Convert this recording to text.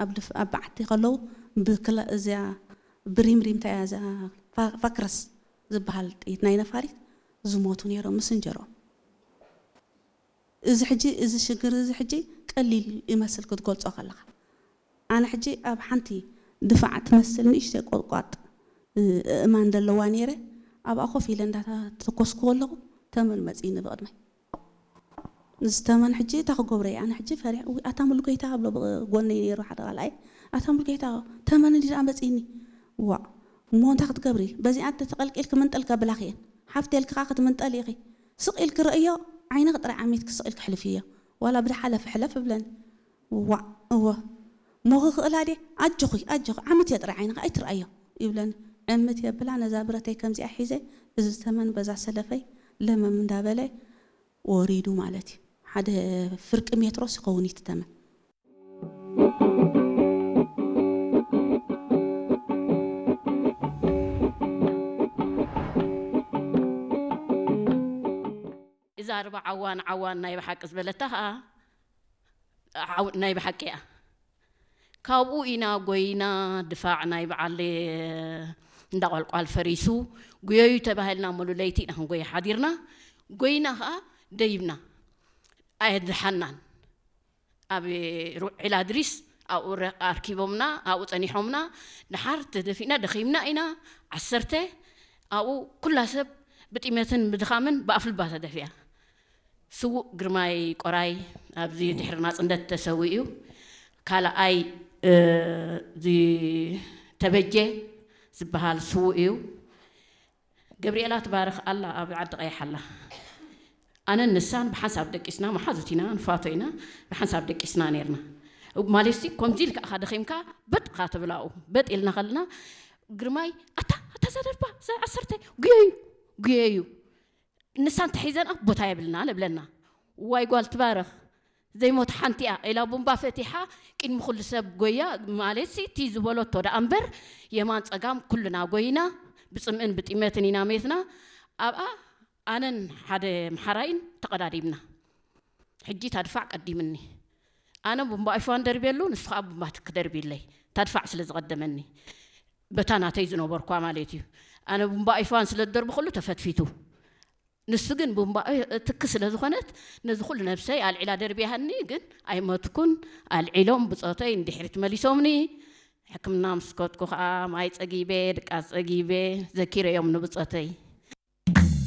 ኣብ ድፍ ኣብ በዓቲ ከለዉ ብክላ እዚኣ ብሪምሪምታ እያ እዚኣ ፋ- ፋክረስ ዝበሃል ጥይት ናይ ነፋሪት ዝሞቱ ነይሮም ምስ እንጀሮም። እዚ ሕጂ እዚ ሽግር እዚ ሕጂ ቀሊል ይመስል ክትገልጾ ከለኻ። ኣነ ሕጂ ኣብ ሓንቲ ድፋዕ ትመስል ንእሽተይ ቆጥቋጥ እ- እእማን ዘለዋ ነይረ። ኣብኣ ኮፍ ኢለ እንዳተኮስኩ ከለኹ ተመን መጺእኒ ብቕድመይ። ዝተመን ሕጂ እታ ክገብሮ እየ ኣነ ሕጂ ፈሪሕ እዊ ኣታ ሙሉ ጎይታ ብሎ ብጎነይ ነይሩ ሓደ ቃልኣይ ኣታ ሙሉ ጎይታ ተመን እንዲ ደኣ መፂኒ። ዋእ እሞ እንታይ ክትገብሪ በዚኣ ተተቐልቂልኪ ምንጠል ከብላኺ እየን ሓፍቲ ኢልኪ ከዓ ክትምንጠል ኢኺ። ስቕ ኢልኪ ረእዮ ዓይንኺ ጥራይ ዓሚትኪ ስቕ ኢልኪ ሕልፍዮ ዋላ ብድሓለፊ ሕለፍ እብለኒ። ዋእ እወ እሞ ክኽእላ ድየ ኣጆኺ ኣጆኺ ዓምትዮ ጥራይ ዓይንኺ ኣይትርኣዮ ይብለኒ። ዕምት የብላ ነዛ ብረተይ ከምዚኣ ሒዘ እዚ ተመን በዛ ሰለፈይ ለመም እንዳበለ ወሪዱ ማለት እዩ። ሓደ ፍርቂ ሜትሮስ ይኸውን እዩ እቲ ተመን። እዛ ርባ ዓዋን ዓዋን ናይ ብሓቂ ዝበለታ ከዓ ናይ ብሓቂ እያ። ካብኡ ኢና ጎይና ድፋዕ ናይ በዓል እንዳቆልቋል ፈሪሱ ጉየዩ ተባሂልና ሙሉ ለይቲ ኢና ክንጎየ ሓዲርና። ጎይና ከዓ ደይብና ኣየድሓናን። ኣብ ዒላ ድሪስ ኣብኡ ኣርኪቦምና ኣብኡ ፀኒሖምና። ድሓር ተደፊእና ደኺምና ኢና። ዓሰርተ ኣብኡ ኩላ ሰብ ብጢመትን ብድኻምን ብኣፍልባ ተደፊኣ። ስዉእ ግርማይ ቆራይ ኣብዚ ድሕሪ ናፅነት ተሰዊኡ። ካልኣይ ተበጀ ዝበሃል ስዉእ እዩ። ገብርኤላ ትባረኽ ኣላ ኣብ ዓዲ ቀይሕ ኣላ። ኣነን ንሳን ብሓንሳብ ደቂስና መሓዙት ኢና ንፋቶ ኢና። ብሓንሳብ ደቂስና ነርና። ማለትሲ ከምዚ ኢልካ ኢኻ ደኺምካ በጥ ኢኻ ትብላኡ። በጥ ኢልና ከለና ግርማይ ኣታ ኣታ ዘደርባ ዘ ዓሰርተ ጉየዩ ጉየዩ ንሳን ተሒዘን ኣብ ቦታ የብልና ንብለና። ዋይ ጓል ትባረኽ ዘይሞት ሓንቲ እያ ኢላ ቡምባ ፈቲሓ ቅድሚ ኩሉ ሰብ ጎያ። ማለትሲ እቲ ዝበለቶ ደኣ እምበር የማን ፀጋም ኩልና ጎይና ብፅምእን ብጢመትን ኢና ሜትና። ኣብኣ ኣነን ሓደ ምሓራይን ተቐዳዲምና። ሕጂ ታድፋዕ ቀዲምኒ። ኣነ ቡምባ ኣይፋን ደርብየሉ ንሱ ከዓ ቡምባ ትክ ደርብይለይ። ታድፋዕ ስለ ዝቐደመኒ በታ ናተይ ዝነበርኳ ማለት እዩ። ኣነ ቡምባ ኣይፋን ስለ ዝደርብክሉ ተፈትፊቱ። ንሱ ግን ቡምባ ትክ ስለ ዝኾነት ነዚ ኩሉ ነብሰይ ኣልዒላ ደርብያሃኒ ግን ኣይመትኩን። ኣልዒሎም ብፆተይ እንድሕሪት መሊሶምኒ። ሕክምና ምስ ከድኩ ከዓ ማይ ፀጊበ ድቃስ ፀጊበ ዘኪረዮም ንብፆተይ።